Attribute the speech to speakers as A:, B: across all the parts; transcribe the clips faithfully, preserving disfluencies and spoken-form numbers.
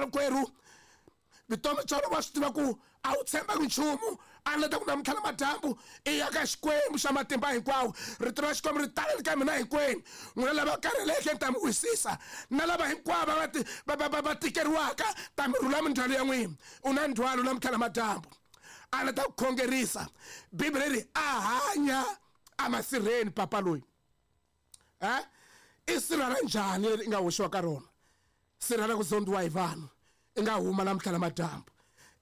A: Rikwerhu vutomi bya wena wa swi tiva ku a wu tshembaki nchumu, a ni ta ku namuntlha na madyambu i ya ka Xikwembu xa matimba hinkwawo. Rito ra Xikwembu ri talele ka mina hinkwenu, n'wina lava karheleke ni ta mi wisisa, na lava hinkwavo va ti va va va tikeriwaka ta mi rhula mindzhwalo ya n'wina. U na ndzhwalo namuntlha na madyambu, a ni ta ku khongerisa. Bibele ri a hanya emasirheni papa loyi. Eh i sirha ra njhani leri i nga hoxiwa ka rona? Sirha ra ku zondiwa hi vanhu i nga huma namuntlha na madyambu.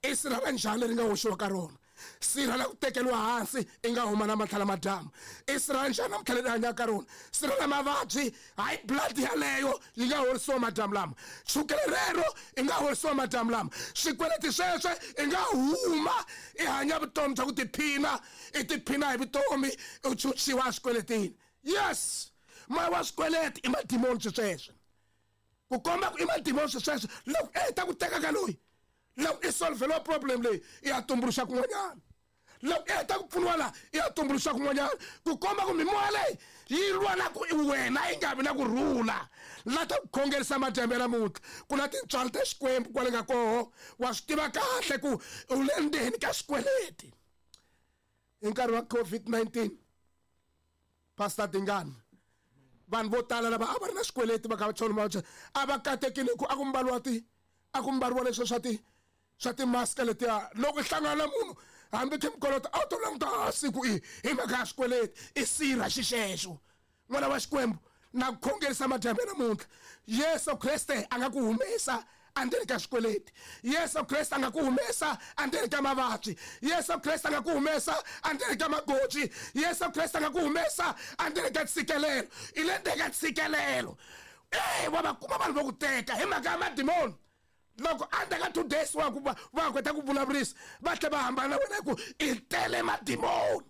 A: I sirha ra njhani leri nga hoxiwa ka rona? Sirha la ku tekeriwa hansi i nga huma namuntlha na madyambu. I sirha ra njhani namuntlha leri hanyaka ka rona? Sirha la mavabyi, high blood yaleyo yi nga horisiwa madyambu lama, chukele rero i nga horisiwa madyambu lama, swikweleti sweswe i nga huma i hanya vutomi bya ku tiphina, i tiphina hi vutomi, u chuchiwa eswikweletini. Yes, moya wa swikweleti i madimoni sweswe, ku komba ku i madimoni sweswe. Loko e ta ku teka ka loyi, loko i solveliwa problem leyi i ya tumbuluxa kun'wanyana, loko i heta ku pfuniwa laha i ya tumbuluxa kun'wanyana, ku komba ku mimoya leyi yi lwa na ku wena i nga vi na ku rhula. La ta ku khongerisa madyambu ya namuntlha, ku na tintswalo ta Xikwembu kwale nga koho, wa swi tiva kahle ku u le ndzeni ka xikweleti. Hi nkarhi wa COVID nineteen, Pastor Dingani, vanhu vo tala lava a va ri na xikweleti va ka va chona va a va katekile ku a ku mbariwa ti a ku mbariwa leswi swa ti swa timask letiya. Loko i hlangana na munhu hambi khe mikolota a wu to languta hansi ku i hi mhaka ya xikweleti, i sirha xixexo. N'wana wa Xikwembu, na ku khongerisa madyambu ya namuntlha, Yesu Kreste a nga ku humesa endzeni ka xikweleti, Yesu Kreste a nga ku humesa endzeni ka mavabyi, Yesu Kreste a nga ku humesa endzeni ka magoji, Yesu Kreste a nga ku humesa endzeni ka ntshikelelo. I le ndzeni ka ntshikelelo, e wa va kuma vanhu va ku teka hi mhaka ya madimoni. Loko endzhaku ka two days wa ku va va kota ku vulavurisa, va tlhela va hambana na wena hi ku i tele madimoni.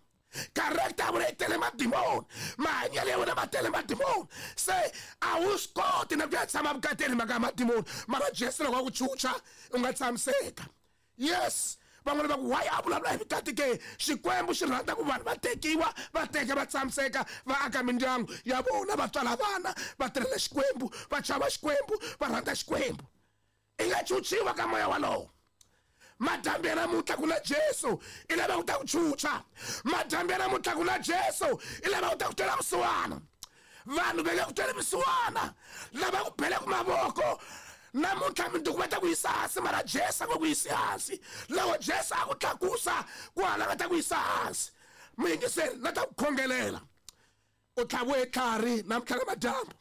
A: Character ya wena yi tele madimoni, mahanyelo ya wena ma tele madimoni, se a wu swi koti na ku ya tshama vukateni mhaka ya madimoni. Mara Jesu loko a ku chucha u nga tshamiseka. Yes, van'wana va ku why a vulavula hi vukati ke? Xikwembu xi rhandza ku vanhu va tekiwa, va teka va tshamiseka, va aka mindyangu ya vona, va tswala vana, va tirhela Xikwembu, va chava Xikwembu, va rhandza Xikwembu. I nga chuchiwa ka moya walowo. Madyambu ya namuntlha ku na Jesu i lava ku ta ku chucha. Madyambu ya namuntlha ku na Jesu i lava ku ta ku twela vusiwana. Vanhu va nge ku tweli vusiwana, lava ku beleke mavoko namuntlha minduku va ta ku yisa hansi, mara Jesu a ngo ku yisi hansi. Loko Jesu a ku tlakusa ku hala va ta ku yisa hansi. Muyingiseri, na ta ku khongelela. U tlhaviwe hi tlhari namuntlha na madyambu,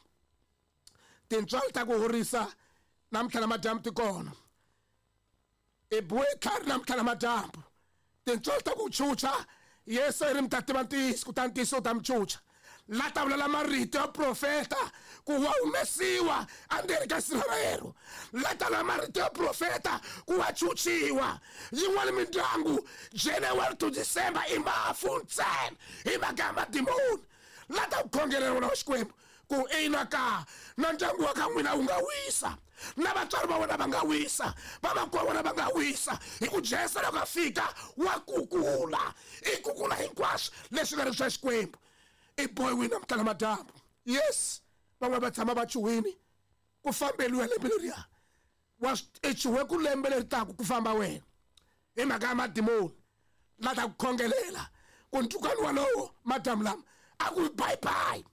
A: tintswalo ta ku horisa namuntlha na madyambu ti kona. I biwe tlhari namuntlha na madyambu, tintswalo ta ku chucha. Yesu i ri mi ta tiva ntiyiso, kutani ntiyiso wu ta mi chucha. La ta vulela marito ya profeta ku wa humesiwa endzeni ka sirha rero, la ta vula marito ya profeta ku wa chuchiwa. Yin'wana mindyangu January to December i mafu ntsena hi mhaka ya madimoni. La ta ku khongelela wena wa Xikwembu ku ina ka na ndyangu wa ka n'wina wu nga wisa, na vatswari va wena va nga wisa, vamakwavo wa wena va nga wisa, hi ku Jesu loko a fika wa kukula, i kukula hinkwaswo leswi nga ri swa Xikwembu. I bohiwile namuntlha na madyambu. Yes, van'wana va tshama va chuhwini ku fambeliwa lembe leriya, wa i chuhe ku lembe leri taka ku famba wena hi mhaka ya madimoni. La ta ku khongelela ku ntukani walowo madyambu lama a ku bye bye.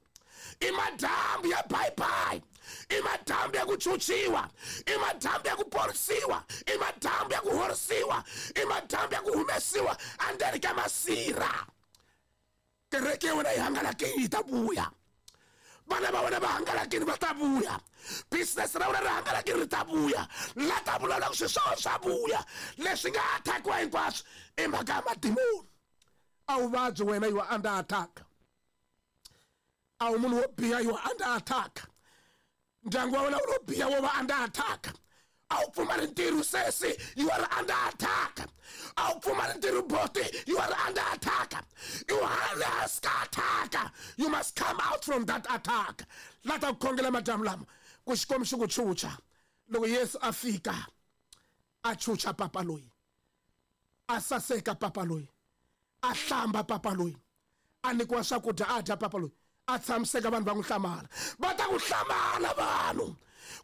A: I madyambu ya bye bye, i madyambu ya ku chuchiwa, i madyambu ya ku porisiwa, i madyambu ya ku horisiwa, i madyambu ya ku humesiwa endzeni ka masirha. Kereke ya wena yi hangalakile yi ta vuya, vana va wena va hangalakile va ta vuya, business ra wena ri hangalakile ri ta vuya. La ta vulavula ku swilo swa wena swa vuya, leswi nga attackiwa hinkwaswo i mhaka ya madimoni. A wu vabyi wena, you are under attack. A wu munhu wo biha, you are under attack. Ndyangu wa wena wu lo biha, wo va under attack. A wu pfumali ntirho sesi, you are under attack. A wu pfumali ntirho boti, you are under attack. You are hansi ka attack. You must come out from that attack. La ta ku khongela madyambu lama ku Xikwembu xi ku chucha. Loko Yesu a fika a chucha papa loyi, a saseka papa loyi, a hlamba papa loyi, a nyikiwa swakudya a dya papa loyi, a tshamiseka, vanhu va n'wi hlamala. Va ta ku hlamala vanhu.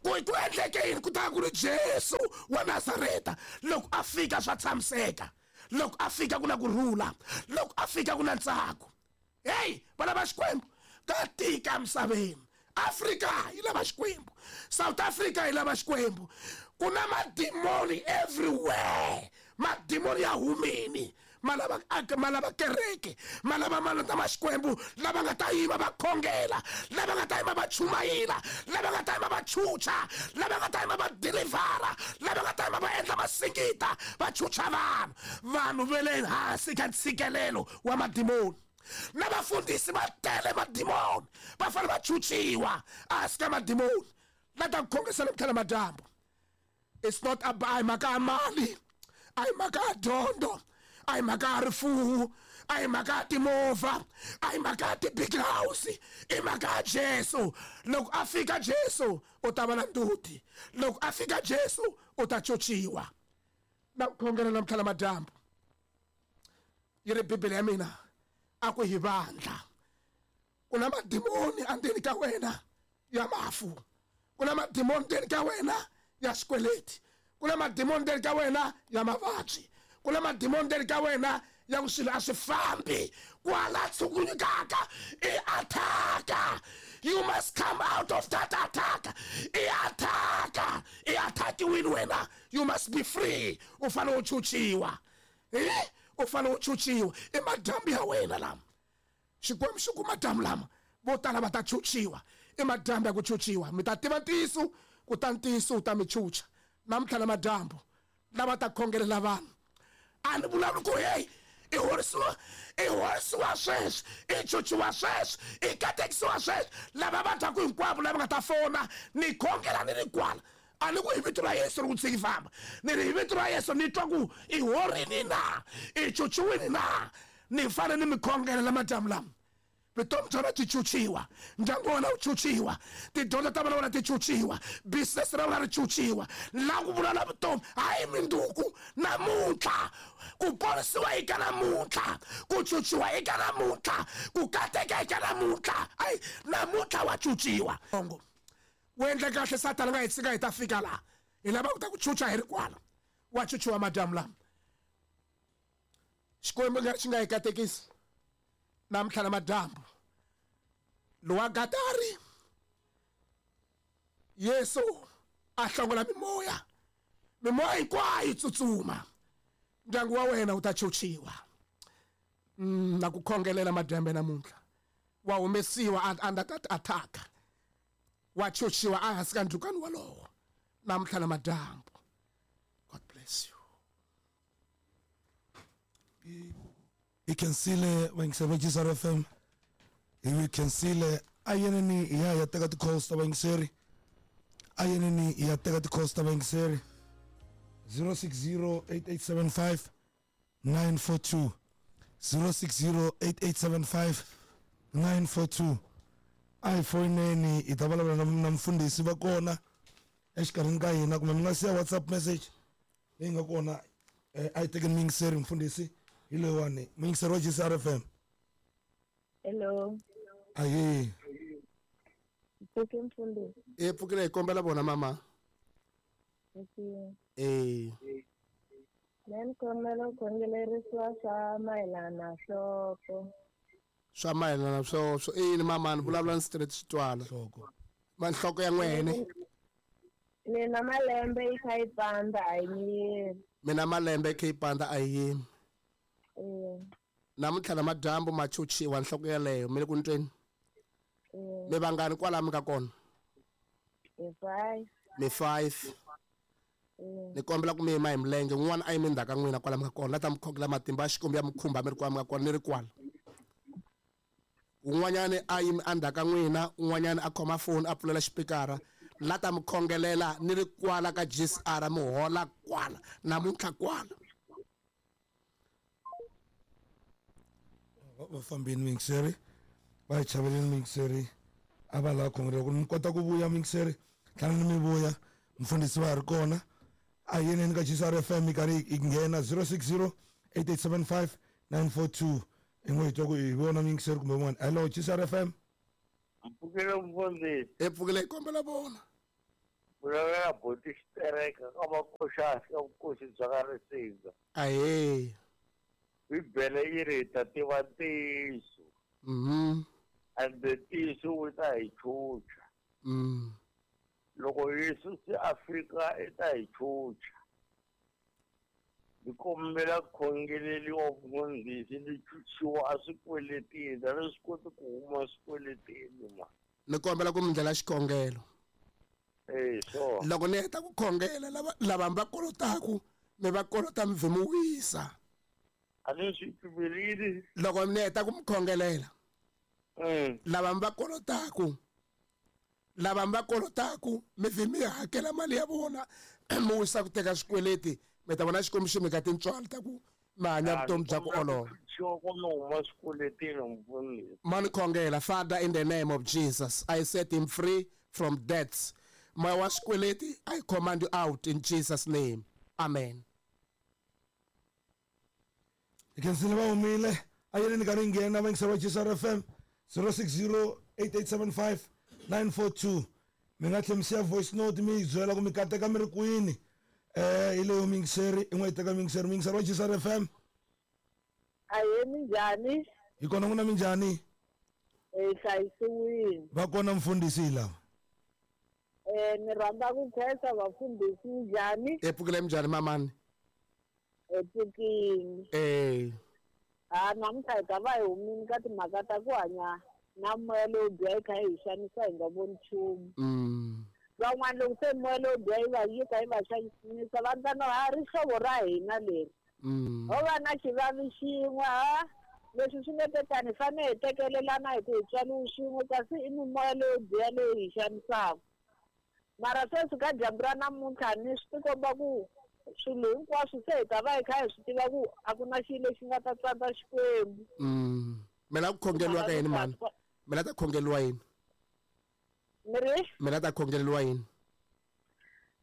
A: Ku ku endleke yini ku ta ku ri Jesu wa Nazareta loko a fika swa tshamiseka loko a fika ku na ku rhula loko a fika ku na ntsako. Hey vana va Xikwembu ka tika emisaveni. Afrika yi lava Xikwembu, South Africa yi lava Xikwembu. Ku na madimoni everywhere, madimoni ya humini ma lava ma lava kereke, ma lava malata ma Xikwembu lava nga ta yima va khongela, lava nga ta yima va chumayela, lava nga ta yima va chucha, lava nga ta yima va delivera, lava nga ta yima va endla masingita va chucha vanhu. Vanhu va le hansi ka ntshikelelo wa madimoni. Na vafundhisi va tele madimoni, va fanele va chuchiwa ehansi ka madimoni. La ta ku khongisa namuntlha madyambu. It's not about mhaka ya mali, a hi mhaka ya dyondzo, a hi mhaka ya rifuwo, a hi mhaka ya timovha, a hi mhaka ya ti-big house, i mhaka ya Jesu. Loko a fika Jesu u ta va na nduti, loko a fika Jesu u ta chuchiwa. Na ku khongela namuntlha madyambu yi ri Bibele ya mina a ku hi vandla ku na madimoni endzeni ka wena ya mafu, ku na madimoni endzeni ka wena ya xikweleti, ku na madimoni endzeni ka wena ya mavabyi, ku na madimoni endzeni ka wena ya ku swilo a swi fambi kwala tshukunyukaka i attack. You must come out of that attack. I attack, i attackiwini wena. You must be free. U fanele u chuchiwa, eh u fanele u chuchiwa. I madyambu ya wena lama Xikwembu xi ku madyambu lama vo tala va ta chuchiwa. I madyambu ya ku chuchiwa. Mi ta tiva ntiyiso, kutani ntiyiso wu ta mi chucha. Namuntlha na madyambu lava ta khongelela vanhu a ni vulavuli ku hey i horisiwa, i horisiwa sweswi, i chuchiwa sweswi, i katekisiwa sweswi. Lava va dyaku hinkwavo lava nga ta fona ni khongela ni ri kwala. A ni ku hi vito ra Yesu ri ku tshiki famba, ni ri hi vito ra Yesu ni twa ku i horini na, i chuchiwini na. Ni fanele ni mi khongelela madyambu lama. Vutomi bya wena byi chuchiwa, ndyangu wa wena wu chuchiwa, tidyondzo ta vana wena ti chuchiwa, business ra wena ri chuchiwa. La ku vulavula vutomi hayi minduku namuntlha, ku ponisiwa eka namuntlha, ku chuchiwa eka namuntlha, ku kateka eka namuntlha. Ayi namuntlha wa chuchiwa. Ongo wu endle kahle Satana nga hi tshika hi ta fika laha hi lava ku ta ku chucha hi ri kwala. Wa chuchiwa madyambu lama. Xikwembu nga xi nga hi katekisi namuntlha na madyambu. Lowa Gatari Yesu a hlongola mimoya, mimoya hinkwayo yi tsutsuma. Ndyangu wa wena wu ta chuchiwa. Na ku khongelela madyambu namuntlha wa humesiwa under that attack, wa chuchiwa ehansi ka ndzhukano walowo namuntlha na madyambu. God bless you.
B: I khensile vayingiseri va G S R F M, hi khensile. A yeneni hi ya hi ya teka ti-calls ta vayingiseri, a yeneni hi ya teka ti-calls ta vayingiseri. Zero six zero eight eight seven five nine four two, zero six zero eight eight seven five nine four two. A hi foyineni hi ta vulavula na na mufundhisi va kona exikarhini ka hina, kumbe mi nga siya WhatsApp message leyi nga kona. A hi tekeni muyingiseri mufundhisi hi loyiwani, muyingiseri wa G S R F M.
C: Hello.
B: Ahee.
C: Pfuke mfundhisi.
A: E pfukile hi kombela vona mama. Eh.
C: Mina ni kombela ku khongelerisiwa swa mayelana na nhloko.
A: Swa mayelana swo swo i yini mama? Ni vulavula ni straight xi twala.
B: Nhloko.
A: Ma nhloko ya n'wene.
C: Mina malembe yi kha yi pandza a yi yimi.
A: Mina malembe yi kha yi pandza a yi yimi.
C: Eh.
A: Namuntlha na madyambu ma chuchiwa nhloko yeleyo mi le ku ntweni. Mi vangani kwala mi ka kona?
C: Hi five.
A: Mi five. Ni kombela ku mi yima hi milenge, un'wana a yimi ndzhaku ka n'wina kwala mi nga kona, la ta mi khongela matimba ya Xikwembu ya mi khumba mi ri kwala mi nga kona ni ri kwala. Un'wanyani a yimi endzhaku ka n'wina, un'wanyani a khoma foni a pfulela xipikara, la ta mi khongelela ni ri kwala ka G S R mi hola kwala namuntlha kwala.
B: Va fambini muyingiseri, va hi chaveleni muyingiseri, a va lava khongelela ku mi kota ku vuya muyingiseri, tlhela ni mi vuya mufundhisi va ha ri kona. A hi yeneni ka G S R F M yi karhi yi nghena zero six zero eight eight seven five nine four two. I n'wi hi twa ku hi vona muyingiseri kumbe un'wana. Hello G S R F M.
D: Mpfukile mufundhisi.
A: E pfukile hi kombela vona.
D: Vulavula boti xitereka ka vakoxasi ka vukosi bya ka Risinga.
A: Ahee.
D: Bibele yi ri hi ta tiva ntiyiso.
A: Mhm.
D: Ende ntiyiso wu ta hi chucha.
A: Mm.
D: Loko Yesu se a fika i ta hi chucha. Ni kombela khongeleliwa mfundhisi ni chuchiwa a swikweletini, a ni swi koti ku huma swikweletini ma.
A: Ni kombela ku mi ndlela xikhongelo.
D: Eh, sure.
A: Loko ni heta ku khongela lava lava mi va kolotaku mi va kolota mi vhe mi wisa.
D: A ni swi pfumeleli.
A: Loko ni heta ku mi khongelela.
D: Mm.
A: Lava mi va kolotaku lava mi va kolotaku mi vhe mi hakela mali ya vona mi wisa ku teka swikweleti mi ta vona Xikwembu xi mi ka tintswalo ta ku mi hanya vutomi bya ku olova. Mani khongela. Father, in the name of Jesus, I set him free from debts. Moya wa swikweleti, I command you out in Jesus' name. Amen.
B: Hi khensile va humile. A yeleni ka ri nghena va yingisela va G S R F M zero six zero eight eight seven five nine four two. Mi nga tlhela mi siya voice note mi yi byela ku mi kateka mi ri kwini. Eh, hi leyo miyingiseri, i n'we yi teka miyingiseri. Miyingiseri wa G S R F M.
C: Ahee, minjhani?
B: Hi kona n'wina minjhani?
C: Eh, hlayisiwile.
B: Va kona mfundhisi hi lava.
C: Eh, ni rhandza ku khensa vafundhisi minjhani?
A: E pfukile minjhani mamani?
C: E pfukile.
A: Eh.
C: Ah, namuntlha hi ta va hi humile ka timhaka ta ku hanya na moya lowo biha yi kha yi hi xanisa hi nga voni nchumu.
A: Mm.
C: Van'wana loko se moya lowo biha yi va yi kha yi va xanisa va ndla no ha rihlovo ra hina leri.
A: Mm.
C: Ho va na xivavi xin'we ha leswi swi nga te tani hi fanele hi tekelelana hi ku hi tswariwe xin'we kasi i mimoya leyo biha leyi hi xanisaka. Mara sweswi ka dyambu ra namuntlha ni swi tikomba ku swilo hinkwaswo se hi ta va hi kha hi swi tiva ku a ku na xilo lexi nga ta tsandza Xikwembu.
A: Mm. Mi lava ku khongeriwa ka yini mhani? Mi lava ta khongeriwa yini?
C: Mi ri?
A: Mi lava ta khongeleriwa yini?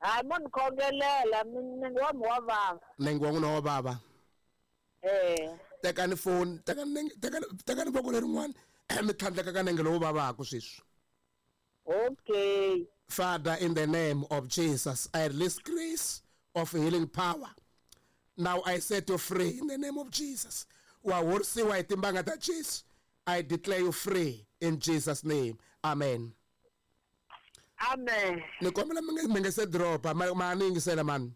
C: Hayi mo ni khongelela nenge wa mi wa vava.
A: Nenge wa n'wina wa vava?
C: Eh.
A: Tekani foni, tekani nenge, tekani, tekani voko lerin'wana mi tlhandleka ka nenge lowu vavaka sweswi.
C: Okay.
A: Father, in the name of Jesus, I release grace of healing power. Now I set you free in the name of Jesus. Wa horisiwa hi timbanga ta Jesu. I declare you free in Jesus' name. Amen.
C: Amen.
A: Ni kombela mi nge mi nge se dropa ma ma ni yingisela mani.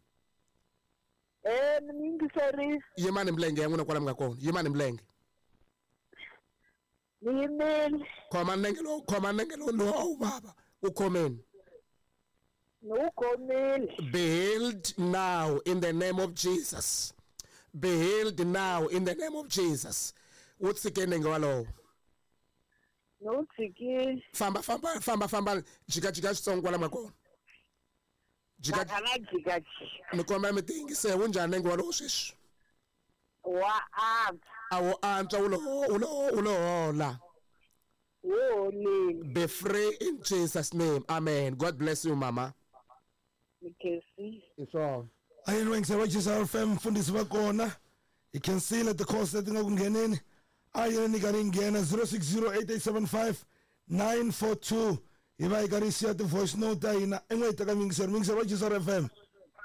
C: Eh, ni yingiserile.
A: Yimani milenge ya n'wina kwala mi nga kona. Yimani milenge.
C: Ni yimile.
A: Khoma nenge lowu, khoma nenge lowu lowu a wu vava. Wu khomeni.
C: Ni wu khomile.
A: Be healed now in the name of Jesus. Be healed now in the name of Jesus. Wu tshike nenge walowo.
C: Ni wu tshikile.
A: Famba famba famba famba jika jika xitsongo kwala mi nga kona. Jika
C: Na na jika jika.
A: Ni kombela mi ti yingisela wu njhani nenge walowo sweswi?
C: Wa antswa.
A: A wu antswa wu lo wu lo wu lo hola.
C: Wu holile.
A: Be free in Jesus' name. Amen. God bless you, mama.
C: Ni khensile.
A: Hi swona.
B: A yini va yingisela va G S R F M mfundhisi va kona. Hi khensile ti-calls leti nga ku ngheneni. A yini ka ri nghena zero six zero eight eight seven five nine four two. Hi va hi karhi hi siya ti-voice note ta hina. I n'we hi teka miyingiseri. Miyingiseri va G S R F M.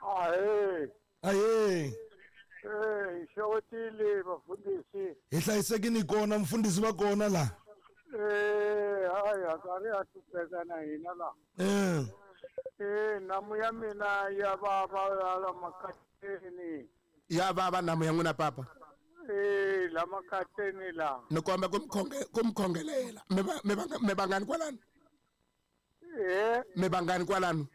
D: Ahee.
B: Ahee.
D: Eh, xewetile vafundhisi.
B: Hi hlayisekile hi kona mfundhisi va kona laha.
D: Eh, hayi a karhi a hlupheka na hina laha.
B: Eh.
D: Eh, nhamu ya mina ya vava la makateni.
A: Ya vava nhamu ya n'wina papa?
D: Eh, la makateni la.
A: Ni komba ku mi khonge-, ku mi khongelela. Mi va, mi va, mi vangani kwalano?
D: Eh.
A: Mi vangani kwalano?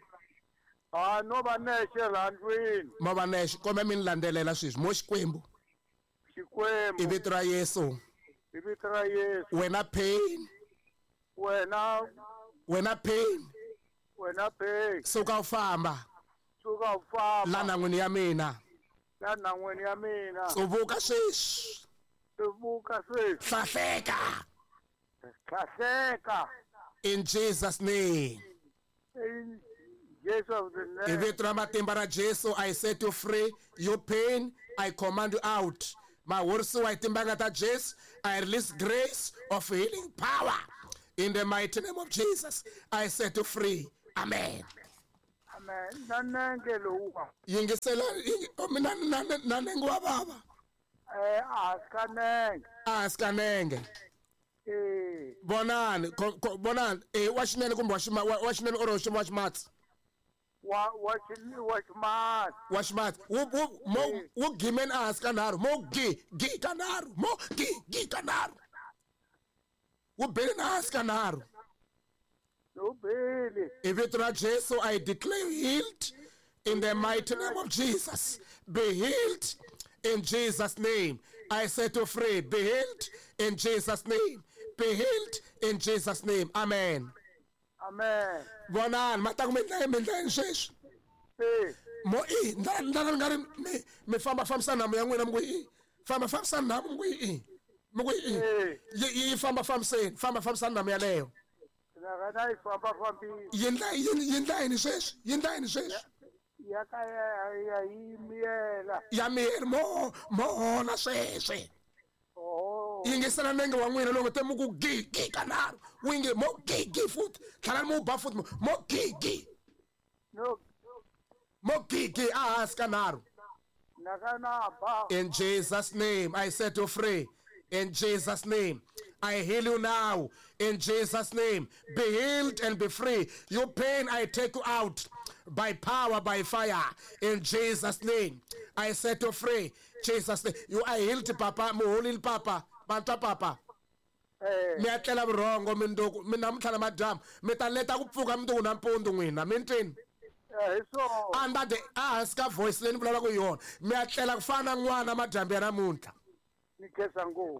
D: Ah, no va nexe laha ndlwini.
A: Mo va nexe, kombe mi ni landzelela sweswi. Mo Xikwembu.
D: Xikwembu.
A: I vito ra Yesu.
D: I vito ra Yesu.
A: Wena pain.
D: Wena.
A: Wena pain.
D: Wena pain.
A: Suka u famba.
D: Suka u famba.
A: La nhan'wini ya mina.
D: La nhan'wini ya mina.
A: Tsuvuka sweswi.
D: Tsuvuka sweswi.
A: Hlahleka.
D: Hlahleka.
A: In Jesus' name.
D: In Jesus' name.
A: I vito ra matimba ra Jesu, I set you free. Your pain, I command you out. Ma horisiwa hi timbanga ta Jesu, I release grace of healing power. In the mighty name of Jesus, I set you free. Amen.
E: Amen. Na nenge lowuwa.
A: Yingisela mina na na nenge wa baba.
E: Eh a nenge.
A: A nenge.
E: Eh.
A: Bonani bonani eh wa xinene kumbe wa xima wa xinene or wa ximatsi.
E: Wa wa wa ximatsi.
A: Wa ximatsi. Wu wu mo wu gimen a hansi ka nharhu mo gi gi ka nharhu mo gi gi ka nharhu. Wu bele na hansi ka nharhu. In vito ra Jesu, I declare healed in the mighty name of Jesus. Be healed in Jesus' name. I set you free. Be healed in Jesus' name. Be healed in Jesus' name. Amen.
E: Amen.
A: Bonani, mata ku mi ndla mi ndla sweswi. Mo i ndla ndla nga ri mi mi famba fambisa nhamu ya n'wina mi ku i famba fambisa nhamu mi ku i mi ku i yi famba fambiseni famba fambisa nhamu yaleyo. Yindla yindla yini sweswi yindla yini sweswi
E: ya ka ya yimela
A: ya miyela mo mo hola sweswi
E: oh
A: yingisela nenge wa n'wina loko te mu ku gi gi ka nharhu wu yinge mo gi gi futhi tlhela mu ba futhi mo gi gi
E: no
A: mo gi gi a hansi ka nharhu In Jesus' name I set you free. In Jesus' name I heal you now. In Jesus' name, be healed and be free. Your pain, I take you out by power, by fire. In Jesus' name, I set you free. Jesus' name. You are healed, Papa. Muholil, Papa. Banta, Papa. Mi atlela vurhongo minduku mi namuntlha na madyambu mi ta leta ku pfuka minduku nampundzu n'wina mi ntwini under the hansi ka voice leyi ni vulavulaka hi yona mi atlela ku fana na n'wana madyambu ya namuntlha.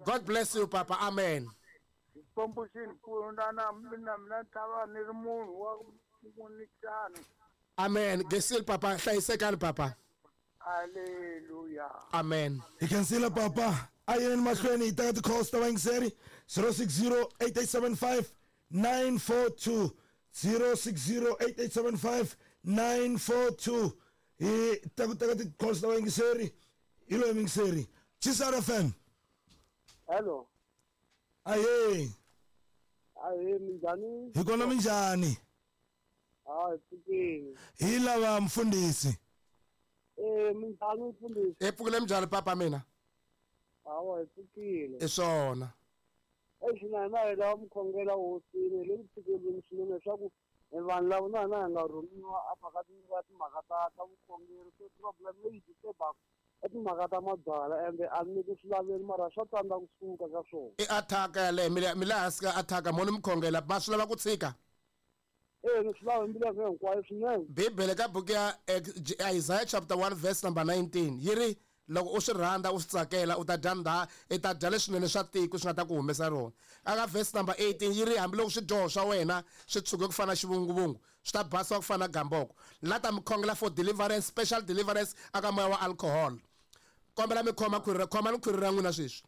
A: God bless you, Papa. Amen. Amen. Gesil, Papa. Hlayisekani, Papa.
E: Hallelujah.
A: Amen.
B: You can see la Papa. Ayeni mahlweni hi teka ti-calls ta vayingiseri zero six zero eight eight seven five nine four two zero six zero eight eight seven five nine four two hi ta ku teka ti-calls ta vayingiseri hi loyi muyingiseri G C R F M.
F: Hello.
B: Aye.
F: Aye, minjhani?
B: Hi kona minjhani?
F: Ah, pfukile.
B: Hi lava mfundhisi.
F: Eh, minjhani mfundhisi?
A: Hi pfukile minjhani papa mina?
F: Hawa, hi pfukile.
A: I swona.
F: Exi na hina hi lava mukhongela hosini le ku pfukeleni swinene leswaku vanhu lava na hina hi nga rhumiwa a mhaka ta timhaka ta ta vukhongeri se problem leyi disturbaka i timhaka ta mabyalwa ende a ni ku swi laveli mara swa tsandza kusuka ka swona.
A: I attack yaleyo mi le mi le hansi ka attack mo ni mukhongela ma swi lava ku tshika.
F: Eh ni swi lava hi mbilu ya mina hinkwayo swinene.
A: Bibele ka buku ya Isaiah chapter one verse number nineteen yi ri loko u swi rhandza u swi tsakela u ta dya ndha i ta dya leswinene swa tiko swi nga ta ku humesa rona. Aka verse number eighteen yi ri hambiloko swidyoho swa wena swi tshuke ku fana xivunguvungu swi ta basiwa ku fana gamboko. La ta mi khongela for deliverance, special deliverance aka moya wa alcohol. Kombela mi khoma khwiri khoma ni khwiri ra n'wina sweswi.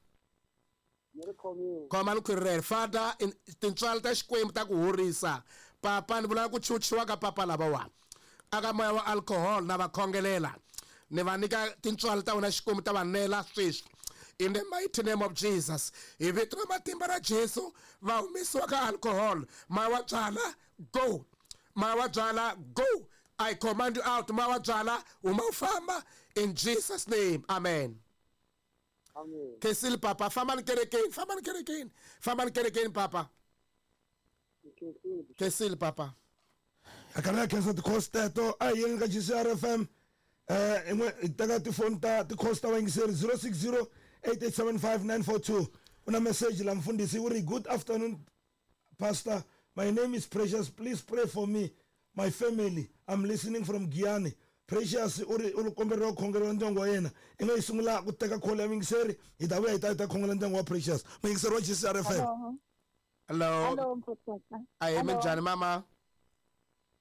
A: Khoma ni khwiri rero. Father, tintswalo ta Xikwembu ta ku horisa. Papa ni vula ku chuchiwa ka papa lavawa aka moya wa alcohol na va khongelela ni va nyika tintswalo ta wena Xikwembu ta va nela sweswi. In the mighty name of Jesus, hi vito ra matimba ra Jesu va humesiwa ka alcohol. Moya wa byala go, moya wa byala go. I command you out. Moya wa byala huma u famba in Jesus' name. Amen.
F: Amen.
A: Kesile papa, famba ni kerekeni, famba ni kerekeni, famba ni kerekeni papa. Kesile papa.
B: Akana khensa ti-calls teto a hi yeni ka G C R F M. Eh hi teka tifoni ta ti-calls ta vayingiseri zero six zero eight eight seven five nine four two. Una message la mfundhisi u ri good afternoon pastor, my name is Precious, please pray for me, my family, I'm listening from Giyani. Precious u ri u komberiwa ku khongela ndyangu wa yena. I nga yi sungula ku teka call ya muyingiseri hi ta vuya hi ta hi ta khongela ndyangu wa Precious. Muyingiseri wa G C R F M.
A: Hello.
G: Hello mfundhisi.
A: Aye minjhani mama?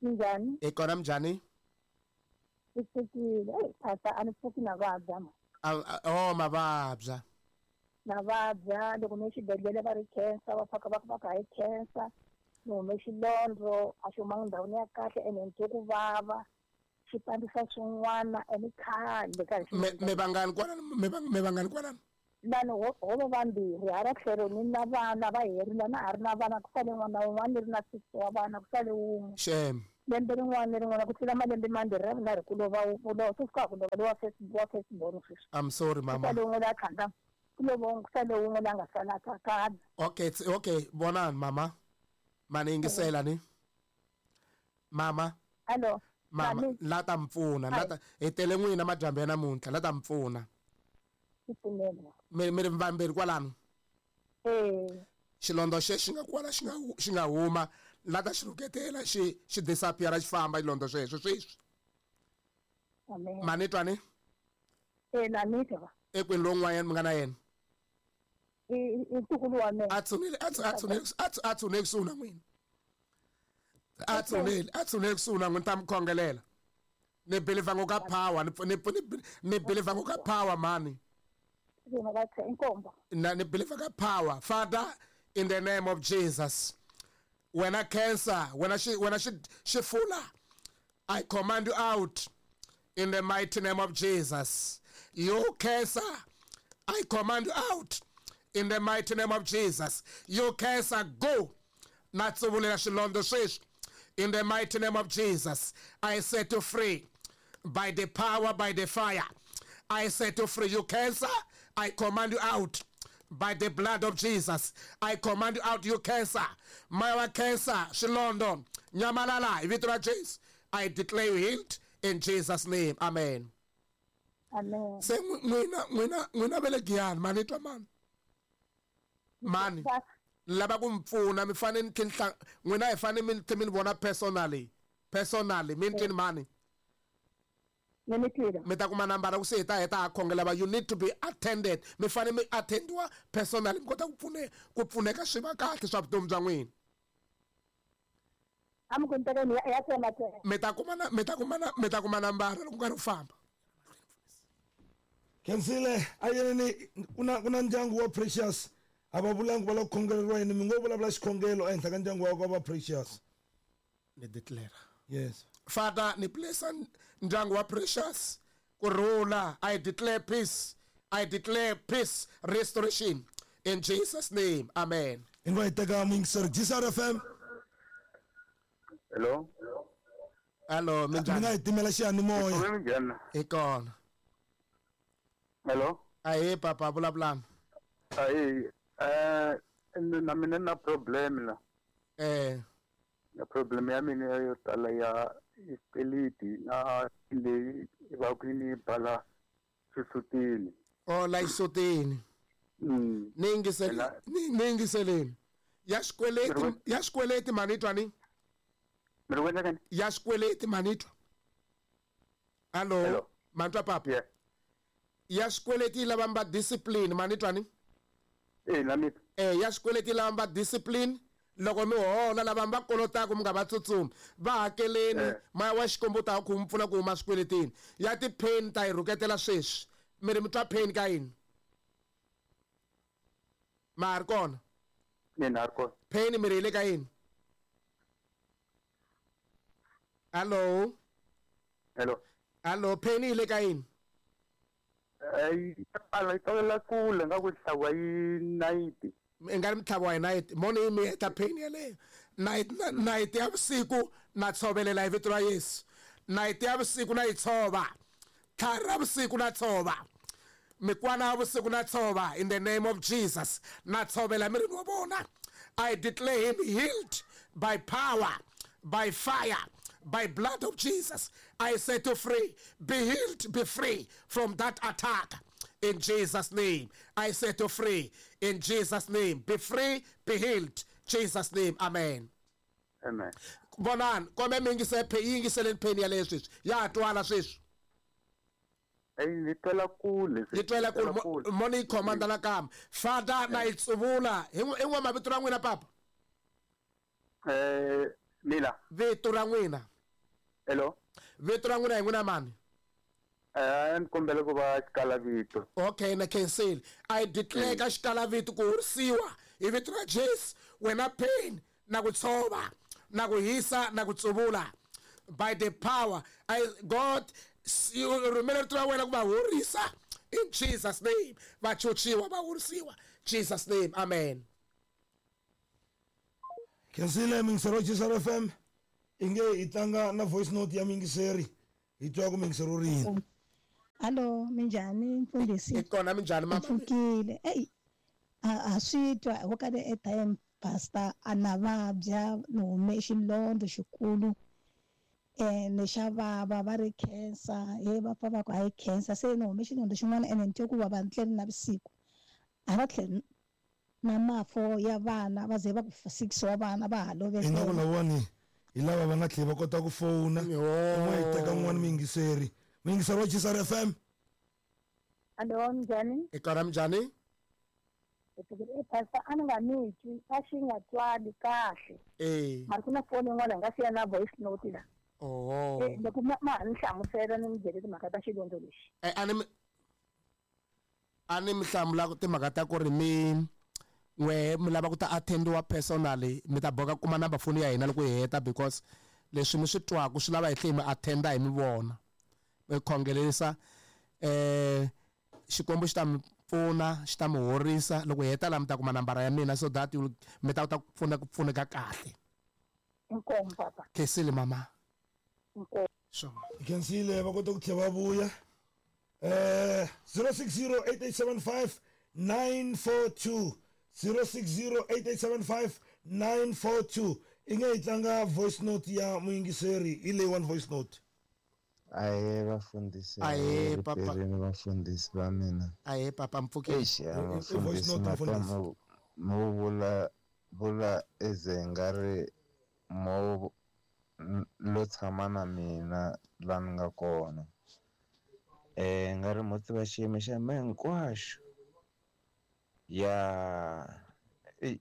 G: Minjhani?
A: Hi kona minjhani?
G: Hi pfukile. Eyi pastor a ni pfuki na vabya ma.
A: Oh mavabya.
G: Na vabya loko ni xibedhlele va ri cancer va faka va ku va ku hayi cancer. Ni hume xilondzo a xi humanga ndhawini ya kahle ene ni twe ku vava. Xi pandzisa swin'wana ene khale ka
A: Me me vangani kwalano me me vangani kwalano?
G: Vanhu ho ho va vambirhi hala tlhelo ni na vana va herile na ha ri na vana ku sale n'wana wun'wana ni ri na six wa vana ku sale wun'we.
A: Shame.
G: Lembe rin'wana na rin'wana ku tlula malembe mambirhi ra vunharhu ku lova ku lova sweswi ka ha ku lova lowa first wa first born sweswi.
A: I'm sorry
G: Ku
A: mama.
G: sale wun'we la tlhandlama ku lova wun'we ku sale wun'we la nga sala ka kala.
A: Okay, it's- okay, vonani mama. Mani yingisela ni. Mama,
G: Hello.
A: mama,
G: Mami.
A: la ta mi pfuna, la ta hi tele n'wina madyambu ya namuntlha, la ta mi pfuna.
G: Pfumela.
A: Mi mi ri vambirhi kwalano.
G: Eh.
A: Xilondza xe xi nga kwala xi nga hu- xi nga huma la ta xi rhuketela xi xi disappear xi famba xilondza xexo sweswi.
G: Amen.
A: Mani twa ni?
G: Eh na ni twa.
A: Ekwini lowun'wanyana mi nga na yena.
G: I i ntukulu wa mina.
A: A tshunele a tsu- a tshunele a tsu- a tshunele kusuhi na n'wina. A tshunele a tshunele kusuhi na n'wina ta mi khongelela. Ni believer ngo ka power ni ni ni- ni believer ngo ka power mani.
G: Yena ka tse inkomba.
A: Na ni believer ka power. Father, in the name of Jesus. When I cancer, when I she when I should shifula, I command you out in the mighty name of Jesus. You cancer, I command you out in the mighty name of Jesus. You cancer, go. Natsubulela xilondza sweswi. In the mighty name of Jesus, I set you free by the power, by the fire. I set you free. You cancer, I command you out by the blood of Jesus. I command you out, you cancer. My cancer, xilondza, nyamalala, hi vito ra Jesu. I declare you healed in Jesus' name. Amen.
G: Amen.
A: Se n'wina n'wina n'wina va le Giyani, mani twa mani. Mani. Lava ku mi pfuna mi fanele ni tlhe ni n'wina hi fanele mi tlhe mi ni vona personally. Personally, mi ni twini mani.
G: Ni mi twile.
A: Mi ta kuma nambara ku se hi ta heta ha khongela va you need to be attended. Mi fanele mi attendiwa personally mi kota ku pfune ku pfuneka swi va kahle swa vutomi bya n'wina.
G: A mi ku ni tekeni ya ya tsema tsema.
A: Mi ta kuma na mi ta kuma na mi ta kuma nambara loko nkarhi wu famba.
B: Khensile a yeneni ku na ku na ndyangu wa Precious a va vulangi va lava ku khongeleriwa yini mi ngo vulavula xikhongelo ehenhla ka ndyangu wa va Precious.
A: Ni declare.
B: Yes.
A: Father, ni blessa ndyangu wa Precious ku rhula. I declare peace. I declare peace, restoration in Jesus' name. Amen.
B: Hi nga hi teka muyingiseri G S R F M.
H: Hello.
A: Hello,
B: Mi
A: minjhani?
B: nga hi timela xiyanimoya.
H: Minjhani?
A: Hi kona.
H: Hello.
A: Ahee papa, vulavulani.
H: Ahee, eh na mina na problem la.
A: Eh.
H: Na problem ya mina yo tala ya xikweleti na leyi va ku ni bala xisutini.
A: Oh, la xisutini.
H: Mm.
A: Ni yingisele ni yingiseleni. Ya xikweleti, ya xikweleti mani twa ni?
H: Mi ri wena kani?
A: Ya xikweleti mani twa? Hello. Mani twa papa?
H: Yeah.
A: Ya xikweleti yi lava mi va discipline mani twa ni?
H: Eh, na mina.
A: Eh, ya xikweleti yi lava mi va discipline. Loko mi hola lava mi va kolotaka mi nga va tsutsumi va hakeleni moya wa Xikwembu ta ku mi pfuna ku huma swikweletini. Ya ti-pain ta yi rhuketela sweswi mi ri mi twa pain ka yini? Ma ha ri kona?
H: Mina ha ri kona.
A: Pain mi ri yi le ka yini? Hello.
H: Hello.
A: Hello, pain yi le ka yini?
H: Eh, yi tala kule nga ku hlawa yi nayiti.
A: I nga ri mitlhavo wa hi nayiti mo ni yi mi heta pain yeleyo. Nayiti nayiti ya vusiku na tshovelela hi vito ra Yesu. Nayiti ya vusiku na yi tshova. Tlhari ra vusiku na tshova. Mikwana ya vusiku na tshova in the name of Jesus. Na tshovela mirini wa vona. I declare him healed by power, by fire, by blood of Jesus. I set you free. Be healed, be free from that attack. In Jesus' name, I set you free. In Jesus' name, be free, be healed. Jesus' name, amen.
H: Amen.
A: Vonani, kombe mi yingisele yingiseleni pain yaleyo sweswi. Ya twala sweswi.
H: Yi twela kule.
A: Yi twela kule. Mo ni yi khomanda nakambe. Father, na yi tsuvula. Hi n'we mavito ra n'wina papa?
H: Eh, mina.
A: Vito ra n'wina.
H: Hello.
A: Vito ra n'wina hi n'wina mani?
H: Eh, ni kombela ku va xikalavito.
A: Okay, na cancel. I declare ka xikalavito ku horisiwa hi vito ra Jesu. Wena pain na ku tshova, na ku hisa, na ku tsuvula. By the power, I God rhumela rito ra wena ku va horisa in Jesus' name. Va chuchiwa, va horisiwa. Jesus' name, amen.
B: Khensile muyingiseri wa G S R F M. I nge hi tlanga na voice note ya muyingiseri hi twa ku muyingiseri u ri yini.
G: Hallo, minjhani mfundhisi?
A: I kona, minjhani mama?
G: Pfukile. Ey, a a swi twa ho ka le airtime pastor a na vabya ni hume xilondza xikulu ene xa vava va ri cancer he va pfa va ku a yi cancer se ni hume xilondza xin'wana ene ni twe ku vava ni tlele navusiku a va tlheli na mafo ya vana va ze va ku six wa vana va ha
B: Ingaku
G: lovekela.
B: Lavawani hi lava va nga tlheli va kota ku fowuna un'we hi teka un'wana muyingiseri muyingiseri wa G S R F M.
G: Hallo, minjhani?
A: I kona, minjhani?
G: E pastor a ni nga mi twi a xi nga twali kahle.
A: Eh.
G: Mara ku na foni yin'wana hi nga siya na voice note la.
A: Oho.
G: Eh, loko ma ma ha ni hlamusela ni mi byele timhaka ta xilondza lexi.
A: Eh, a ni mi a ni mi hlamula timhaka ta ku ri mi n'we mi lava ku ta attendiwa personally mi ta boka kuma number phone ya hina loko hi heta because leswi mi swi twaku swi lava hi tlhe hi mi attenda hi mi vona mi khongelerisa eh Xikwembu xi ta mi pfuna xi ta mi horisa loko hi heta laha mi ta kuma nambara ya mina so that you mi ta kota ku pfuna ku pfuneka kahle.
G: Inkomu papa.
A: Khensile mama.
G: Inkomu.
A: Sure.
B: Hi khensile va kota ku tlhela va vuya eh zero six zero eight eight seven five nine four two, zero six zero eight eight seven five nine four two. I nge hi tlanga voice note ya muyingiseri hi leyi one voice note.
I: Ahee vafundhisi.
A: Ahee, papa.
I: Riperini vafundhisi va mina.
A: Ahee papa, mpfukeni.
I: Eish, ya
B: I- i- i voice
I: vafundhisi
B: note,
I: mata
B: mfundhisi.
I: mo mo vula vula eze nga ri mo n- lo tshama na mina la ni nga kona eh nga ri mo tiva xiyimo xa mehe hinkwaxo ya eyi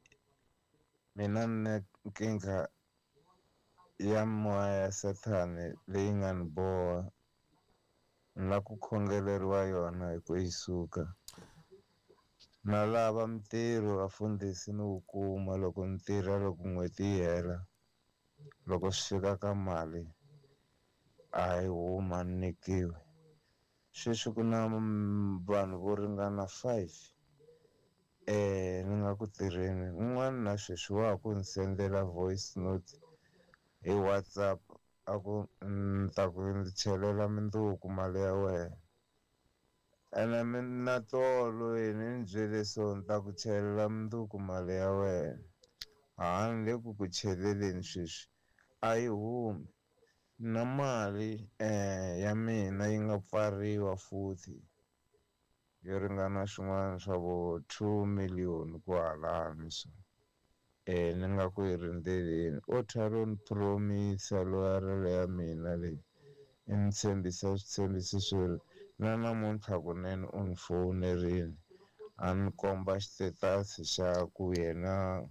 I: mina ni na nkingha ya moya ya sathane leyi nga ni boha ni la ku khongeleriwa yona hi ku yi suka na lava mintirho vafundhisi ni wu kuma loko ni tirha loko n'hweti yi hela loko swi fika ka mali a yi huma ni nyikiwe sweswi ku na mm, vanhu vo ringana five eh ni nga ku tirheni un'wana na sweswi wa ha ku ni sendela voice note hi WhatsApp a ku ni ta ku ndzi chelela mindzuku mali ya wena ene mina tolo yini ni byele so ni ta ku chelela mindzuku mali ya wena ha ni le ku ku cheleleni sweswi a yi humi na mali eh ya mina yi nga pfariwa futhi yo ringana swin'wana swa vo two million ku halani so eh ni nga ku yi rindzeleni o tlhela ni promisa loyarelo ya mina leyi i ni tshembisa switshembiso swo na namuntlha kunene u ni fowunerile a ni komba xitetasi xa ku yena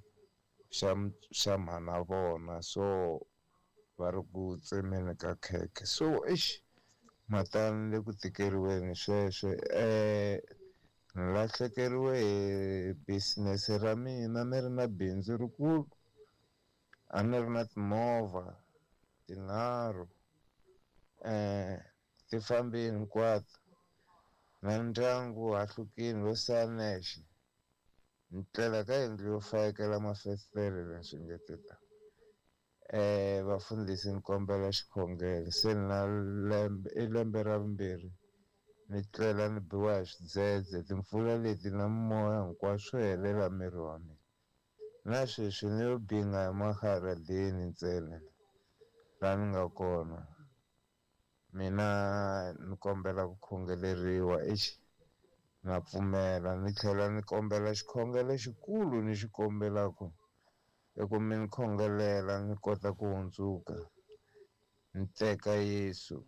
I: xa xa mhana vona so va ri ku tsemeni ka khekhe so eish matani le ku tikeriweni sweswo eh ni lahlekeriwe hi business ra mina ni ri na bindzu rikulu a ni ri na timovha tinharhu eh ti fambile hinkwato na ndyangu hahlukile lo sala nexe ni tlela ka yindlu yo fayekela mafestere leswi nge te ta eh vafundhisi ni kombela xikhongelo se ni na lembe i lembe ra vumbirhi ni tlela ni biwa hi swidzedze timpfula leti na moya hinkwaswo swo helela miri wa mina na sweswi ni yo binga hi maharadeni ntsena laha ni nga kona mina ni kombela ku khongeleriwa exi na pfumela ni tlhela ni kombela xikhongelo xikulu ni xi kombelaku i ku mi ni khongelela ni kota ku hundzuka ni teka Yesu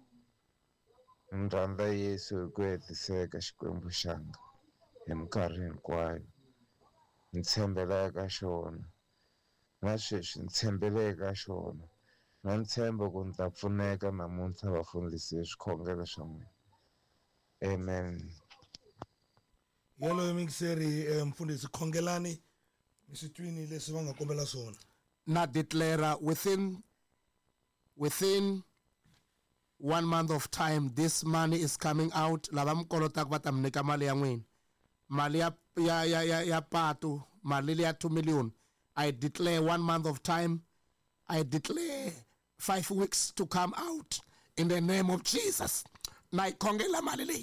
I: ni rhandza Yesu hi ku hetiseka Xikwembu xanga hi minkarhi hinkwayo ni tshembela eka xona na sweswi ni tshembele eka xona na ntshembo ku ni ta pfuneka namuntlha vafundhisi hi swikhongelo swa n'wina amen.
B: Yoloyo muyingiseri eh, mfundhisi khongelani mi swi twini leswi va nga kombela swona.
A: Na declare within within one month of time this money is coming out lava mi kolotaka va ta mi nyika mali ya n'wina mali ya ya ya ya, ya patu mali ya two million. I declare one month of time. I declare five weeks to come out in the name of jesus na yi khongela mali leyi